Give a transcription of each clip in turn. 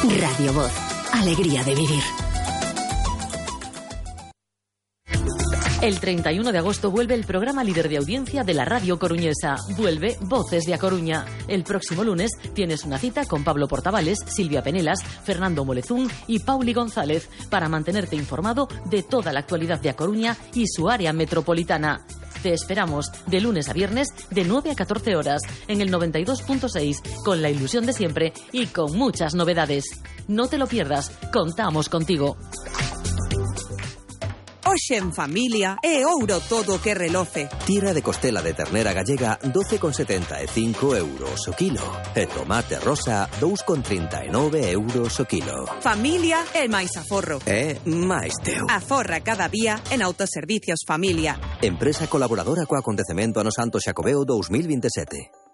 Radio Voz. Alegría de vivir. El 31 de agosto vuelve el programa líder de audiencia de la radio coruñesa. Vuelve Voces de A Coruña. El próximo lunes tienes una cita con Pablo Portavales, Silvia Penelas, Fernando Molezún y Pauli González para mantenerte informado de toda la actualidad de A Coruña y su área metropolitana. Te esperamos de lunes a viernes de 9 a 14 horas en el 92.6 con la ilusión de siempre y con muchas novedades. No te lo pierdas, contamos contigo. Hoxe en familia é ouro todo o que reloce. Tira de costela de ternera gallega 12,75 euros o kilo. E tomate rosa 2,39 euros o kilo. Familia é máis aforro. É máis teu. Aforra cada día en Autoservicios Familia. Empresa colaboradora co acontecemento Ano Santo Xacobeo 2027.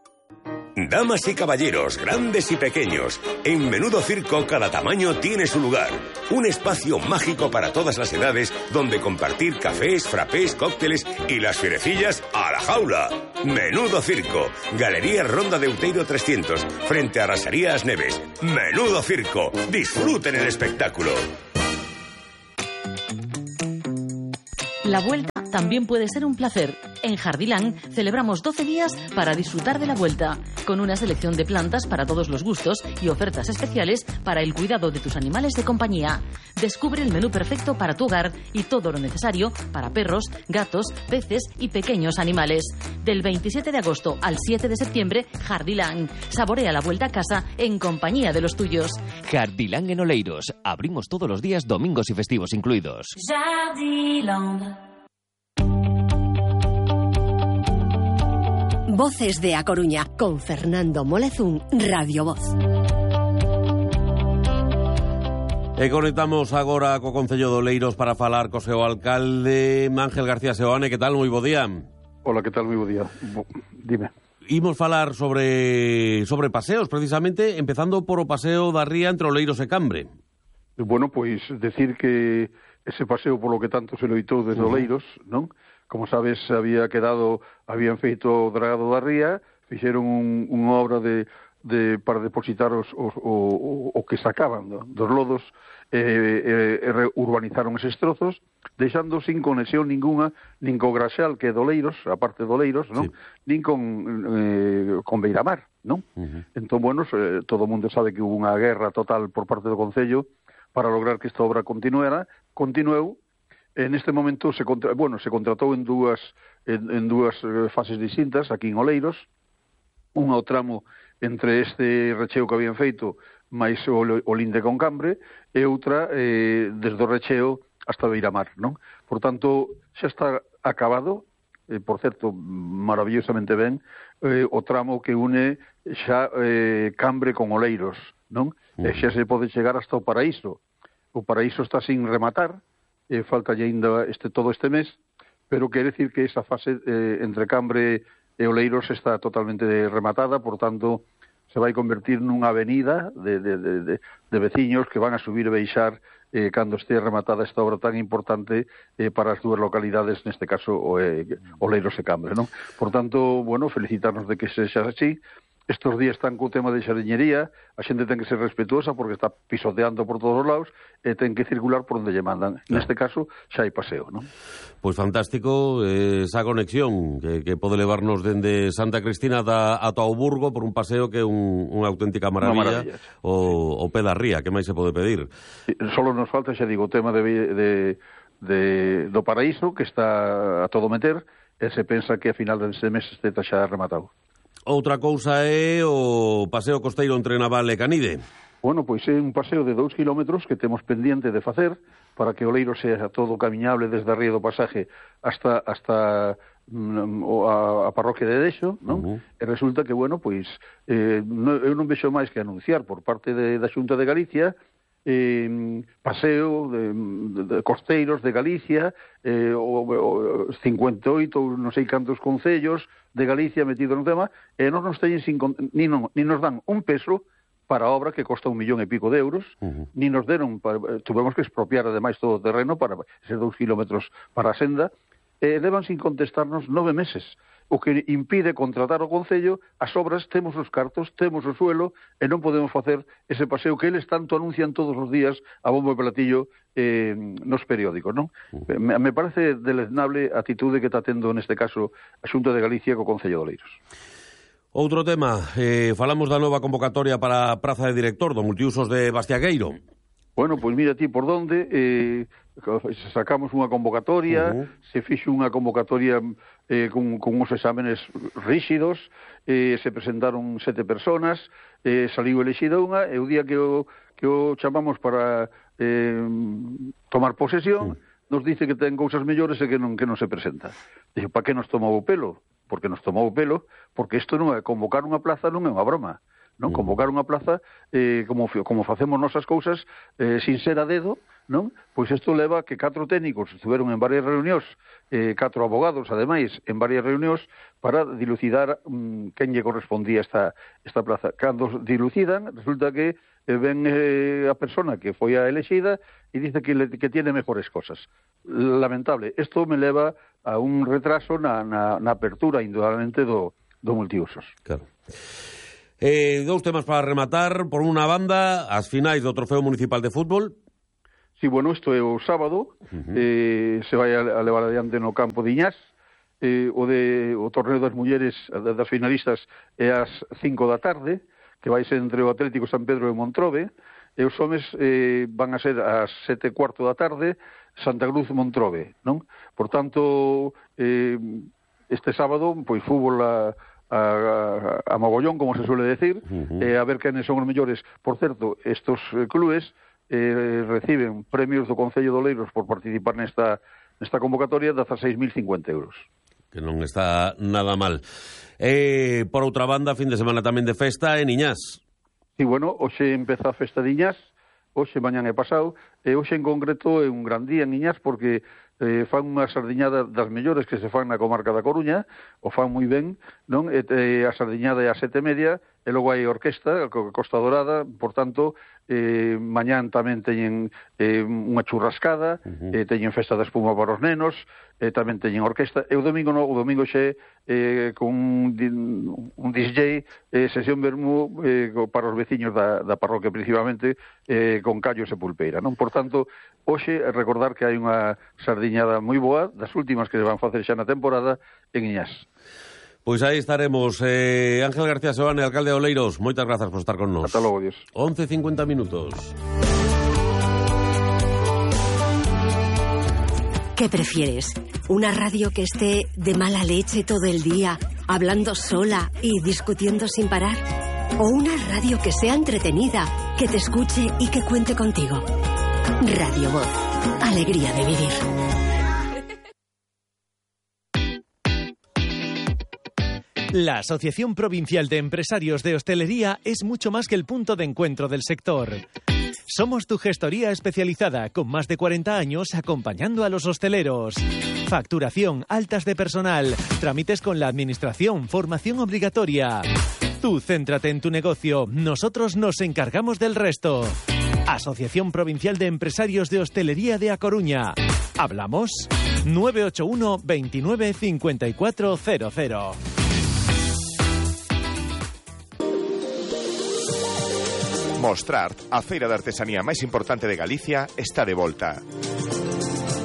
Damas y caballeros, grandes y pequeños, en Menudo Circo cada tamaño tiene su lugar. Un espacio mágico para todas las edades donde compartir cafés, frappés, cócteles y las fierecillas a la jaula. Menudo Circo, Galería Ronda de Outeiro 300, frente a Rasaría As Neves. Menudo Circo, disfruten el espectáculo. La vuelta también puede ser un placer. En Jardilán celebramos 12 días para disfrutar de la vuelta, con una selección de plantas para todos los gustos y ofertas especiales para el cuidado de tus animales de compañía. Descubre el menú perfecto para tu hogar y todo lo necesario para perros, gatos, peces y pequeños animales. Del 27 de agosto al 7 de septiembre, Jardilán. Saborea la vuelta a casa en compañía de los tuyos. Jardilán en Oleiros. Abrimos todos los días, domingos y festivos incluidos. Jardilán. Voces de A Coruña, con Fernando Molezún, Radio Voz. E conectamos agora co Concello de Oleiros para falar co seu alcalde, Ángel García Seoane. Que tal? Moi bo día. Hola, que tal? Moi bo día. Dime. Imos falar sobre paseos, precisamente, empezando por o paseo da ría entre Oleiros e Cambre. Bueno, pois decir que ese paseo polo que tanto se loitou desde Oleiros, non? Como sabes, habían feito o dragado da ría, fixeron unha obra para depositar o que sacaban dos lodos, urbanizaron eses trozos, deixando sin conexión ninguna, nin co Graxal, que é de Oleiros, a parte de Oleiros, non? Sí. Nin con Beiramar, non? Entón, bueno, todo o mundo sabe que hubo unha guerra total por parte do Concello para lograr que esta obra continueu. En este momento se contratou en dúas fases distintas aquí en Oleiros, unha ao tramo entre este recheo que habían feito máis o linde con Cambre e outra desde o recheo hasta Beiramar, non? Por tanto, xa está acabado, por certo, maravillosamente ben, o tramo que une xa Cambre con Oleiros, non? E xa se pode chegar hasta o Paraíso. O Paraíso está sin rematar, falta aínda todo este mes, pero quere decir que esa fase entre Cambre e Oleiros está totalmente rematada, por tanto, se vai convertir nunha avenida de veciños que van a subir e baixar cando este rematada esta obra tan importante para as dúas localidades, neste caso Oleiros e Cambre, non? Por tanto, bueno, felicitarnos de que sexa así. Estos días están co tema de xariñería, a xente ten que ser respetuosa porque está pisoteando por todos os lados e ten que circular por onde lle mandan. Neste caso, xa hai paseo, non? Pois fantástico esa conexión que pode levarnos dende Santa Cristina ata o Burgo por un paseo que é unha auténtica maravilla. O pé da ría, que máis se pode pedir? Solo nos falta, xa digo, o tema do Paraíso, que está a todo meter, e se pensa que a final deste mes este xa rematado. Outra cousa é o paseo costeiro entre Naval e Canide. Bueno, pois é un paseo de 2 kilómetros que temos pendiente de facer para que Oleiros sea todo camiñable desde a ría do Pasaje hasta a parroquia de Dexo, non? E resulta que, bueno, pois eu non vexo máis que anunciar por parte da Xunta de Galicia paseo de costeiros de Galicia, 58 ou non sei cantos concellos de Galicia metido no tema, e non nos teñen ni nos dan un peso para a obra que costa 1,5 millón de euros, ni nos deron, tuvemos que expropiar ademais todo o terreno para eses 2 kilómetros para a senda, levan sin contestarnos 9 meses. o que impide contratar o Concello as obras, temos os cartos, temos o suelo, e non podemos facer ese paseo que eles tanto anuncian todos os días a bombo e platillo nos periódicos, non? Me parece deleznable a atitude que está tendo neste caso a Xunta de Galicia co Concello de Oleiros. Outro tema, falamos da nova convocatoria para a praza de director do multiusos de Bastiagueiro. Bueno, pois mira ti por donde sacamos unha convocatoria, se fixo unha convocatoria con uns exámenes rígidos, se presentaron 7 personas, saliu elexida unha, e o día que o chamamos para tomar posesión, nos dice que ten cousas mellores e que non se presenta. Dixo, para que nos tomou o pelo? Porque nos tomou o pelo, porque isto non é convocar unha plaza, non é unha broma. Non convocar unha plaza como facemos nosas cousas sin ser a dedo, non? Pois isto leva que 4 técnicos estuveron en varias reunións, 4 abogados ademais en varias reunións para dilucidar quen lle correspondía esta plaza. Cando dilucidan, resulta que ven a persona que foi a elexida e dice que tiene mejores cosas. Lamentable. Isto me leva a un retraso na apertura indudablemente do multiusos. Claro. Dous temas para rematar. Por unha banda, as finais do Trofeo Municipal de Fútbol. Sí, bueno, isto é o sábado, se vai a levar adiante no campo de Iñás, o torneo das mulleres, das finalistas, é ás 5 da tarde, que vai ser entre o Atlético San Pedro e Montrobe, e os homes van a ser ás 7:15 da tarde, Santa Cruz Montrobe, non? Por tanto, este sábado, pois fútbol a mogollón, como se suele decir, a ver quenes son os mellores. Por certo, estos clubes reciben premios do Concello de Oleiros por participar nesta convocatoria de 16.050 euros. Que non está nada mal. Por outra banda, fin de semana tamén de festa en Iñás. Sí, bueno, hoxe empeza a festa de Iñás, hoxe, mañán e pasado, e hoxe en concreto é un gran día en Iñás porque fan unha sardiñada das mellores que se fan na comarca da Coruña, o fan moi ben, non? A sardiñada é a 7:30, e logo hai orquesta, Costa Dorada, por tanto, mañán tamén teñen unha churrascada, teñen festa de espuma para os nenos, tamén teñen orquesta, e o domingo xe con un DJ, sesión vermú para os veciños da parroquia principalmente, con callos e pulpeira, non? Por tanto, hoxe recordar que hai unha sardiñada moi boa, das últimas que se van facer xa na temporada en Iñás. Pois aí estaremos. Ángel García Seoane, alcalde de Oleiros, moitas grazas por estar con nós. Ata logo, Dios. 11:50 minutos. ¿Qué prefieres? ¿Una radio que esté de mala leche todo el día, hablando sola y discutiendo sin parar? ¿O una radio que sea entretenida, que te escuche y que cuente contigo? Radio Voz. Alegría de vivir. La Asociación Provincial de Empresarios de Hostelería es mucho más que el punto de encuentro del sector. Somos tu gestoría especializada con más de 40 años acompañando a los hosteleros. Facturación, altas de personal, trámites con la administración, formación obligatoria. Tú céntrate en tu negocio, nosotros nos encargamos del resto. Asociación Provincial de Empresarios de Hostelería de A Coruña. ¿Hablamos? 981 29 5400. Mostrart, a feira de artesanía máis importante de Galicia, está de volta.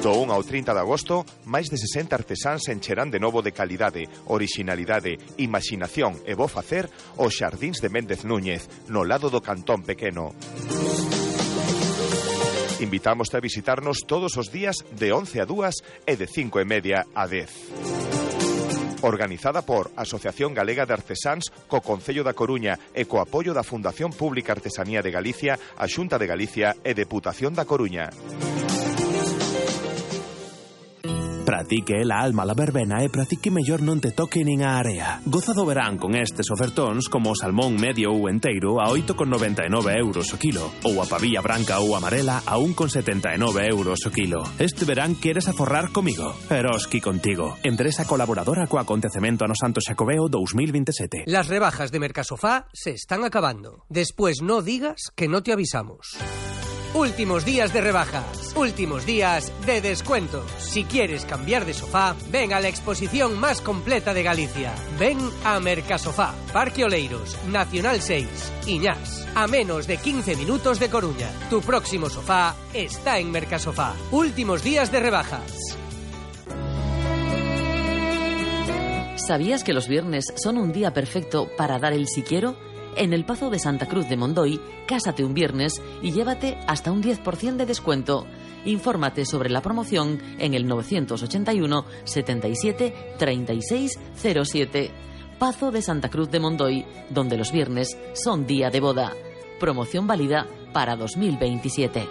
Do 1 ao 30 de agosto, máis de 60 artesáns encherán de novo de calidade, orixinalidade, imaginación e bo facer os xardíns de Méndez Núñez, no lado do Cantón Pequeno. Invitámoste a visitarnos todos os días de 11 a 2 e de 5:30 a 10. Organizada por Asociación Galega de Artesáns co Concello da Coruña e co apoio da Fundación Pública Artesanía de Galicia, a Xunta de Galicia e Deputación da Coruña. Para ti que é la alma la verbena e para ti que mellor non te toque nin a area. Goza do verán con estes ofertóns como o salmón medio ou enteiro a 8,99 euros o kilo ou a pavilla branca ou amarela a 1,79 euros o kilo. Este verán queres aforrar comigo. Eroski contigo. Empresa colaboradora co acontecemento ano Santo Xacobeo 2027. Las rebajas de Mercasofá se están acabando. Después no digas que no te avisamos. Últimos días de rebajas, últimos días de descuentos. Si quieres cambiar de sofá, ven a la exposición más completa de Galicia. Ven a Mercasofá, Parque Oleiros, Nacional 6, Iñás. A menos de 15 minutos de Coruña. Tu próximo sofá está en Mercasofá. Últimos días de rebajas. ¿Sabías que los viernes son un día perfecto para dar el si quiero? En el Pazo de Santa Cruz de Mondoy, cásate un viernes y llévate hasta un 10% de descuento. Infórmate sobre la promoción en el 981 77 36 07. Pazo de Santa Cruz de Mondoy, donde los viernes son día de boda. Promoción válida para 2027.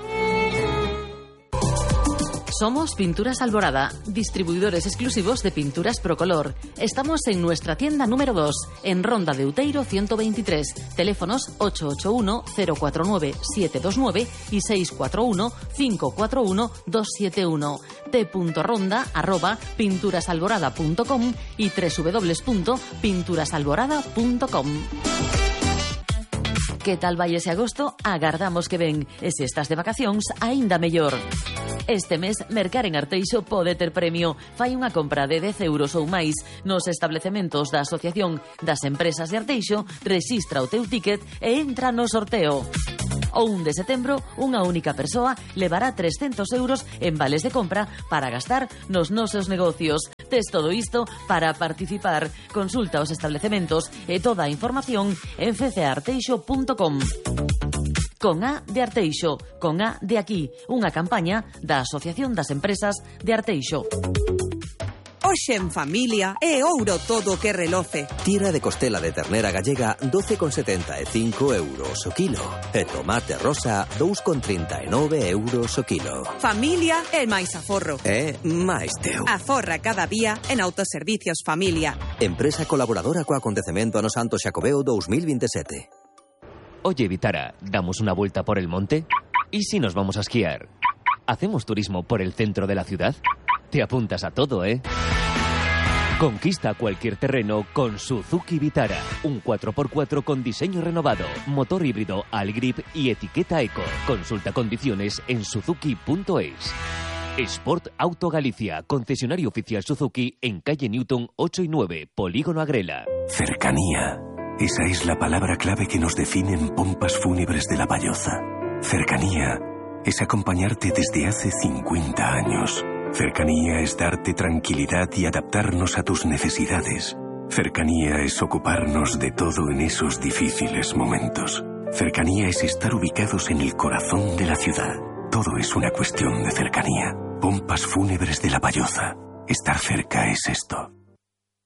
Somos Pinturas Alborada, distribuidores exclusivos de pinturas Procolor. Estamos en nuestra tienda número 2, en Ronda de Uteiro 123. Teléfonos 881-049-729 y 641-541-271. t.ronda@pinturasalborada.com y www.pinturasalborada.com. Que tal vai ese agosto? Agardamos que ven. E se estás de vacacións, aínda mellor. Este mes, mercar en Arteixo pode ter premio. Fai unha compra de 10 euros ou máis nos establecementos da Asociación das Empresas de Arteixo, rexistra o teu ticket e entra no sorteo. O 1 de setembro, unha única persoa levará 300 euros en vales de compra para gastar nos nosos negocios. Tes todo isto para participar. Consulta os establecementos e toda a información en fcearteixo.com. Con A de Arteixo, con A de aquí, unha campaña da Asociación das Empresas de Arteixo. Hoxe en familia é ouro todo o que reloce. Tira de costela de ternera gallega 12,75 euros o kilo. E tomate rosa 2,39 euros o kilo. Familia é máis aforro. É máis teu. Aforra cada día en Autoservicios Familia. Empresa colaboradora co acontecemento ano Santo Xacobeo 2027. Oye, Vitara, ¿damos una vuelta por el monte? ¿Y si nos vamos a esquiar? ¿Hacemos turismo por el centro de la ciudad? Te apuntas a todo, ¿eh? Conquista cualquier terreno con Suzuki Vitara. Un 4x4 con diseño renovado, motor híbrido Algrip y etiqueta Eco. Consulta condiciones en suzuki.es. Sport Auto Galicia, concesionario oficial Suzuki en calle Newton 8 y 9, Polígono Agrela. Cercanía. Esa es la palabra clave que nos define en Pompas Fúnebres de La Valloza. Cercanía es acompañarte desde hace 50 años. Cercanía es darte tranquilidad y adaptarnos a tus necesidades. Cercanía es ocuparnos de todo en esos difíciles momentos. Cercanía es estar ubicados en el corazón de la ciudad. Todo es una cuestión de cercanía. Pompas Fúnebres de La Valloza. Estar cerca es esto.